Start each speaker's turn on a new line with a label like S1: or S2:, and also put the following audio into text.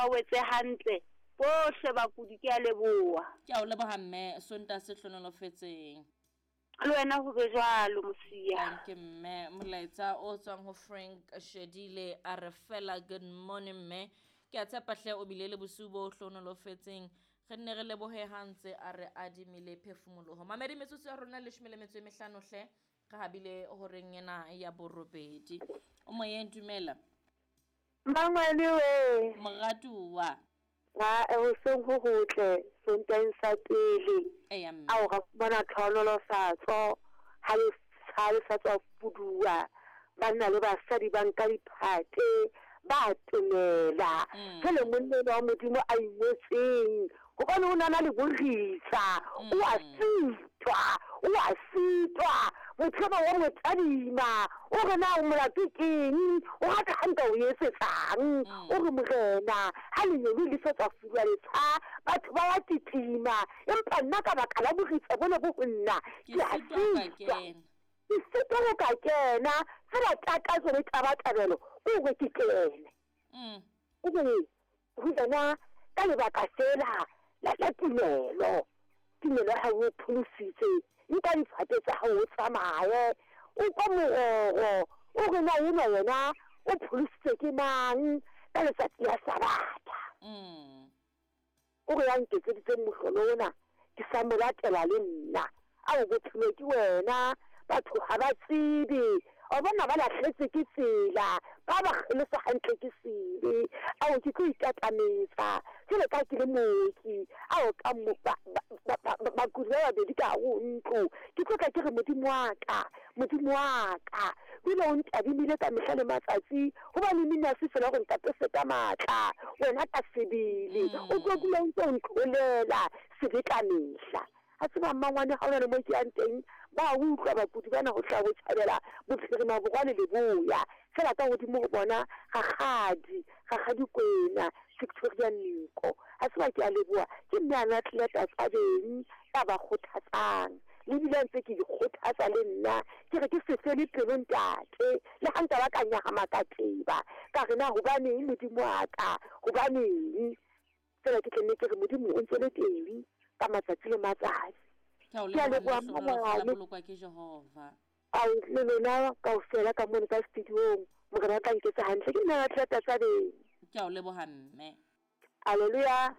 S1: Ba wetse hantle bohle bakudi ke a leboha.
S2: Ke a o leboha mme, Sontaha se hlonolofetseng.
S1: Le wena ho be jwalo Mosia.
S2: Dankie mme. Molaetsa o tswang ho Frank Shedile a re fela good morning mme. Ke a tshepa hle o bile le bosiu bo hlonolofetseng. Re nne re lebohe ha ntse a re adimile phefumoloho. Mamedi metsotso ya rona leshome le metso e mehlano hle. Re habile horeng ena ya borobedi. O moyeng dumela.
S3: Mmangwane we.
S2: Moratuwa.
S3: Ae hoseng ho hotle Sontaheng sa pele.
S2: Eya mme.
S3: Ao ra fumana tlhohonolofatso ha le ha le sa tswa fuduwa. Banna le basadi ba nka diphate ba atomela. Jwale monna enwa wa Modimo a ingotseng Gobane o na na le boritsa, o a sitwa, o a sitwa. Motho enwa wa mo tadima, o re na molato keng, o rata ha nka o etsetsang? O re Morena, ha lengeloi le sa tswa fulwa letsha, batho ba ya titima, empa nna ka baka la boritsa bona bo ho nna,
S2: Ke
S3: ke a
S2: sitwa ho ka
S3: sitwa.
S2: kena.
S3: Ke sitwa ho ka kena, fela takatso le tabatabelo ke hore ke kene. O re, Ho yena ka lebaka feela la, la tumelo. Tumelo ya hao e o pholositse. Nka difate tsa hao o tsamaye. O kwa mororo, o re na enwa yena o pholositswe ke mang ka letsatsi la Sabatha? O re ya nketseditseng mohlolo ona, ke sa mo latela le nna. Ao, bophelo ke wena. Batho ga ba tsebe. Wa bona, ba lahletswe ke tsela. Ba ba kgelosa hantle ke sebe. Ao, ke tlo ikatametsa jwalo ka ke le mooki. Ao, ka mo, ba, ba, ba, ba, ba, bakudi ba babedi ka gare ho ntlo. Ke tlo tla ke re, Modimo wa ka, Modimo wa ka, dula o ntadimile ka mehla le matsatsi, gobane mmino ha se fela gore nkapese ka maatla. Wena ka sebele o tlo dula o ntse o ntlholela sebe ka mehla. A tseba mmangwane ga o na le mo ke yang teng, ba a utlwa bakudi bana go tla botjhabela, bophirima, borwa le leboya. Fela ka godimo go bona Rakgadi, Rakgadi Kwena, Victoria Niko. A tseba ke a leboha, ke mme a na tlileta tsa beng ba ba kgothatsang. Le bile a ntse ke ikgothatsa le nna, ke re ke se fele pelo ntate, le ga nka ba ka nyahama ka teba, ka re na hobaneng Modimo wa ka, hobaneng? Fela ke tla nne ke re Modimo o ntse le teng ka matsatsi le matsatsi.
S2: Ke a o
S3: Ke a
S2: leboha
S3: leboha
S2: mme hlohonolofatsa
S3: mmangwane.
S2: bolokwa ke Jehova.
S3: Ao le lona kaofela ka mono ka studiong. Morena o tla nketsa hantle. Ke nna Ratlata Tsabeng.
S2: Ke a o leboha mme.
S3: Alleluia.